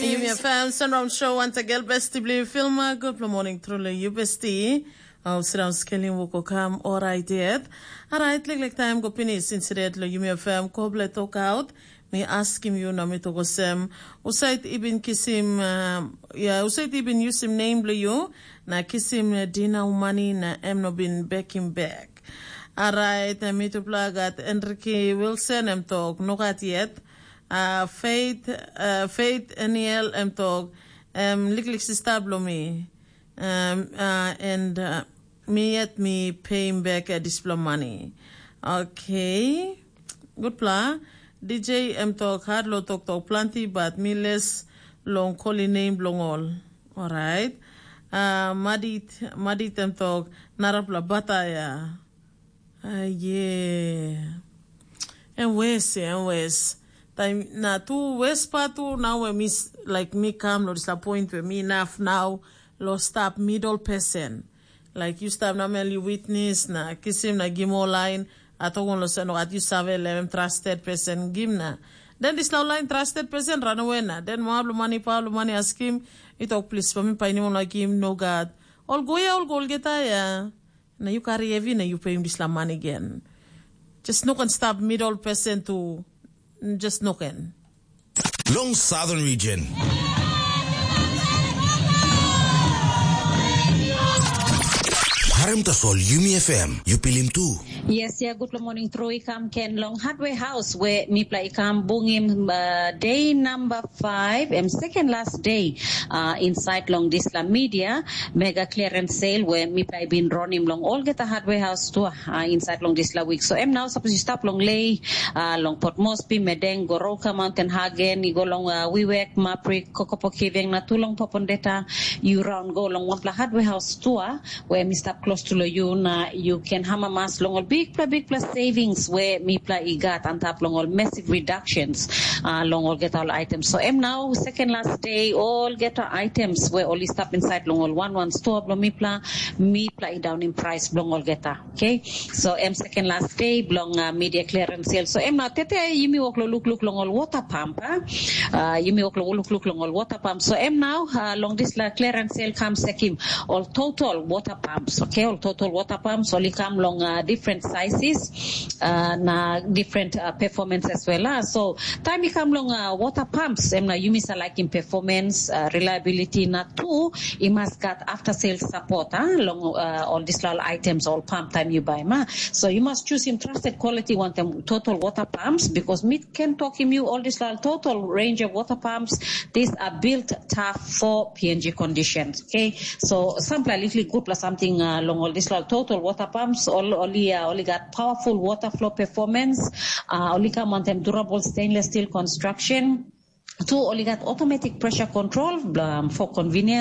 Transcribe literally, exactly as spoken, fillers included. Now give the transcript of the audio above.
Yumi FM Sunround Show once again, besti bli filma. Good morning, truly, you besti. Au sirau skelim woko kam orait yet. Arait, lik lik time go pinis insidet lo Yumi FM koble tok out. Mi askim you na mi tok osem. Usait ibin kisim, uh, ya, usait ibin yusim name blo you na kisim uh, dinau money na em no bin bekim back. Arait, uh, mi tupla gat Enrique Wilson em tok, no gat yet. Uh, Faith, uh, Faith Aniel em tok, em liklik sista blo mi. Um, uh, and uh, mi yet mi pay him back uh, dispela money. Okay. Gutpela. D J em tok hat lo toktok planti, but mi les long koli nem bilong ol. Alright. Uh, madit, madit em tok narapela bataya. Aye. Em wes, em wes. Taim na tu wes pa tu na we mi s- like mi kam lo dispela point we mi naf nau lo stap middle person. Like you stap namel you witness na kisim na gimo line. Atokon lo sen at you save lem trusted person gim na. Den dispela line trusted person run away na. Den mo ablo money pa ablo money askim. Itok please pa mi painim ola gim no God. Ol go ya ol go olgeta ya. Na yu kari hevi na yu peim dispela man gen. Just no ken stap middle person tu just no ken. Long Southern Region. Harim tasol Yumi F M, yu pilim tu. Yes, yeah, good morning, Troy. Kam ken long Hardware House where mipla i kam bungim uh, day number five and second last day uh, inside long this la media mega clearance sale where mipla i bin ronim long olgeta hardware house tu uh, inside long this la week. So em now suppose you stop long lay uh, long Port Moresby, Medeng, Goroka, Mountain Hagen, you go long uh, Wiwek, Maprik, Kokopo Kiveng, na tu long Popondeta, you round go long one pla hardware house tour where mi stap close to lo you na you can hamamas long ol bigpela bigpela savings where mipla i gat antap long ol massive reductions uh, long olgeta ol items. So em now second last day olgeta items where ol i stap inside long ol one one store bilong mipla, mipla i down in price bilong olgeta. Okay, so em second last day bilong uh, media clearance sale. So em now tete yumi wok lo look look long ol water pump. Uh, yumi wok lo look look long ol water pump. So em now uh, long this la clearance sale kam sekim ol total water pumps. Okay, ol total water pumps ol i kam long uh, different sizes uh, na different uh, performance as well. Uh. So time i kam long uh, water pumps em na yumi sa like in performance, uh, reliability na tu i mas gat after sales support uh, long uh, all this la items all pump time you buy ma. So you must choose him trusted quality one them total water pumps because meat can talk him you all this la total range of water pumps. These are built tough for P N G conditions. Okay, so sampla little good plus something uh, long all this la total water pumps. All only uh, only got powerful water flow performance. Uh, only come on them durable stainless steel construction. Two only got automatic pressure control um, for convenience.